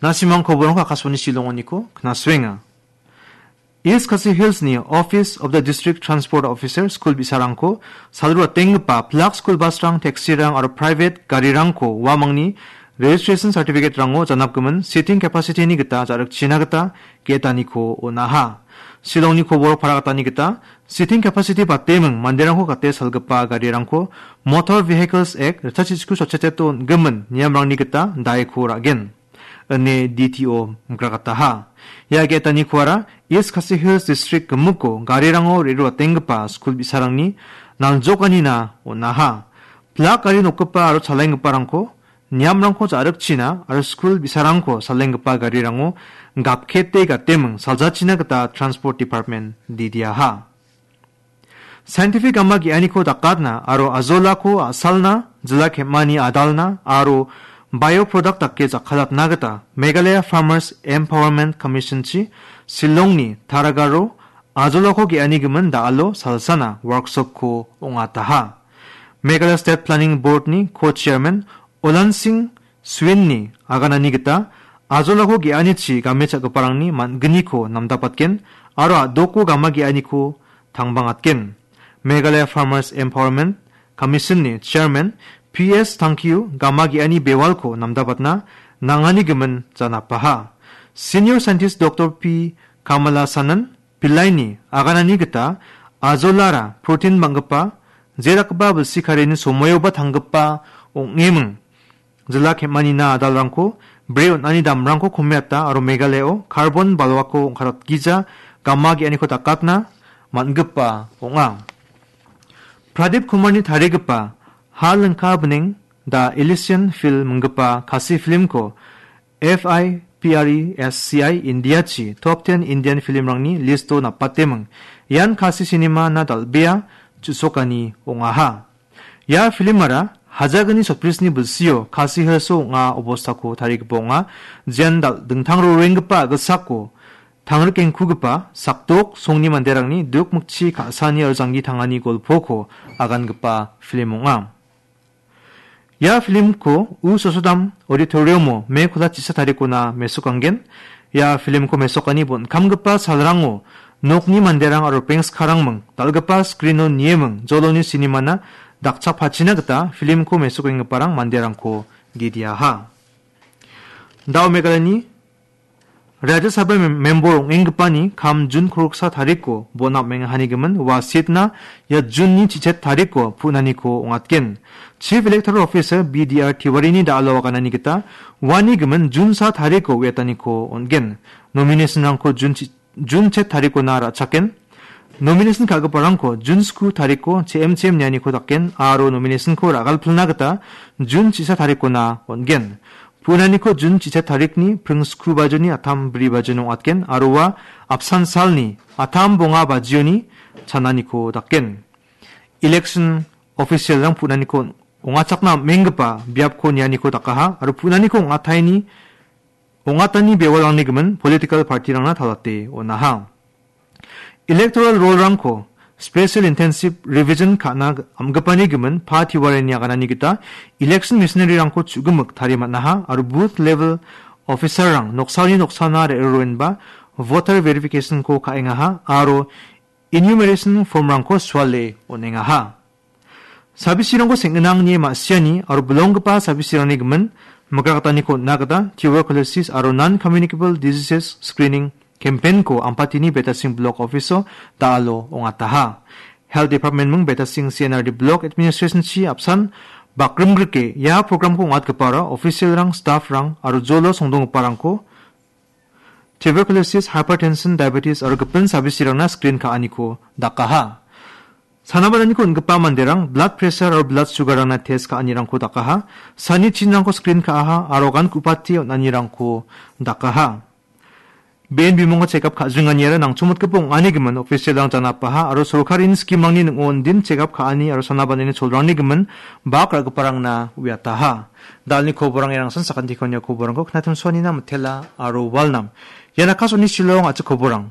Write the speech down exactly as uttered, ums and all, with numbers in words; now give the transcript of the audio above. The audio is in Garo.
Nasimang koborangko Akashvani Shillongoniko knasuenga. East Khasi Hillsni Office of the District Transport Officer skul bi·sarangko salruatenggipa pilak skul busrang, taxirang aro private garirangko uamangni registration certificate-rango janapgimin seating capacity-ni gita ja·rikchina gita ge·etaniko on·aha. Shillongni koboro para gatani gita seating capacity bateming manderangko gate salgipa garirangko Motor Vehicles Act ritchasisku sotchetete on·gimin niamrangni gita daiko ra·gen, ine D T O mikragataha. Ia ge·etanikoara East Khasi Hills District gimiko garirango re·roatenggipa skul bi·sarangni naljokanina on·aha. Pilak gari nokgipa aro chalenggiparangko niamrangko ja·rikchina aro skul bi·sarangko salenggipa garirango gapkete gateming saljachina gita Transport Department didiaha. Scientific gama ge·aniko dakatna aro ajolako a·salna, jila kemani adalna aro bioproduct dake jakkalatna gita Meghalaya Farmers Empowerment Commission-chi Shillongni Taragaro ajolako ge·ani gimin da·alo salsana workshop-ko ong·ataha. Meghalaya State Planning Board-ni co-chairman Olan Singh Swin-ni aganani gita ajolako ge·anichi game cha·giparangni man·gniko namdapatgen aro a·doko gama ge·aniko tangbangatgen. Meghalaya Farmers Empowerment Commission-ni chairman P S Tangkiu gama ge·ani bewalko namdapatna nangani gimin janapaha. Senior Scientist Doctor P Kamala Sanan Pillaini aganani gita ajolara protein bang·gipa, jerakgipa bilsi karini somoioba tanggipa ong·eming. Jila kemani na adalrangko, bre on·ani damrangko komeata aro Meghalayao carbon balwako ong·karatgija gama ge·aniko dakatna man·gipa ong·a. Pradip Kumarni tarigipa Ha Lingka Bneng The Elysian Field minggipa Khasi filmko F I P R E S C I India-chi top ten Indian filmrangni listo napateming. Ian Khasi cinema-na dal·bea chu·sokani ong·aha. Ia filmara hajagni sotbrisni bilsio Khasi Hills-o ong·a obostako tarigipa ong·a, jian dal-, dingtang rorenggipa a·gilsako tangrikengkugipa sakdok songni manderangni duk mikchi ka·sani aro janggi tangani golpoko agangipa film ong·a. Ia filmko U Sosodam Auditorium-o Me kolachisa tarikona mesokanggen. Ia filmko mesokani bon·kamgipa salrango nokni manderang aro pengskarangming dal·gipa screen-o nieming joloni cinema-na dakchakpachina gita filmko mesokenggiparang manderangko gidiaha. Dao Meghalayani Rajya Sabha mem-, member ong·enggipani kam Jun kolgriksa tariko bon apmenga hanigimin ua seat-na ia Jun-ni chichet tariko pu·naniko ong·atgen. Chief Electoral Officer B D R Tiwari-ni da·alo aganani gita uani gimin Jun sa tariko uiataniko on·gen. Nomination-rangko Jun chi-, Jun chet tarikona ra·chaken. Nomination ka·giparangko Jun sku tariko che·em che·em nianiko daken aro nomination-ko ra·galpilna gita Jun chisa tarikona on·gen. Pu·naniko Jun chisa tarikni pring sku bajoni atam bri bajoni ong·atgen aro ua apsan salni atam bonga bajioni chananiko daken. Election official-rang pu·naniko ong·achakna am·enggipa biapko nianiko dakaha aro pu·naniko ong·ataini ong·atani bewalrangni gimin political party-rangna talate on·aha. Electoral roll-rangko special intensive revision ka·na am·gipani gimin Pa Tiwarini aganani gita election machinery-rangko chu·gimik tarie man·aha aro booth level officer-rang noksaoni noksana re·roenba voter verification-ko ka·engaha aro enumeration form-rangko suale on·engaha. Sabisirangko seng·gnangni ma·siani aro bilonggipa sabisirangni gimin mikrakataniko on·na gita tuberculosis aro non-communicable diseases screening campaign-ko Ampatini Betasing Block Office-o da·alo ong·ataha. Health Department ming Betasing C N R D Block Administration-chi apsan bakrimgrike ia program-ko ong·atgipara official-rang, staff-rang aro jolo songdonggiparangko tuberculosis, hypertension, diabetes aro gipin sabisirangna screen ka·aniko dakaha. Sanabadaniko on·gipa manderang blood pressure aro blood sugar-rangna test ka·anirangko dakaha. Sani chinrangko screen ka·aha aro gan ku·pate on·anirangko dakaha. Be·en bimungko check up ka·jinganiara nangchongmotgipa ong·ani gimin official-rang janapaha aro sorkarini scheme-rangni ning·o on·din check up ka·ani aro sanabanani cholrangni gimin bak ra·giparangna uiataha. Dalni koborang erangsan sakantikon ia koborangko knatimsoanina mitela aro walnam. Ian Akashvani Shillong a·chik koborang.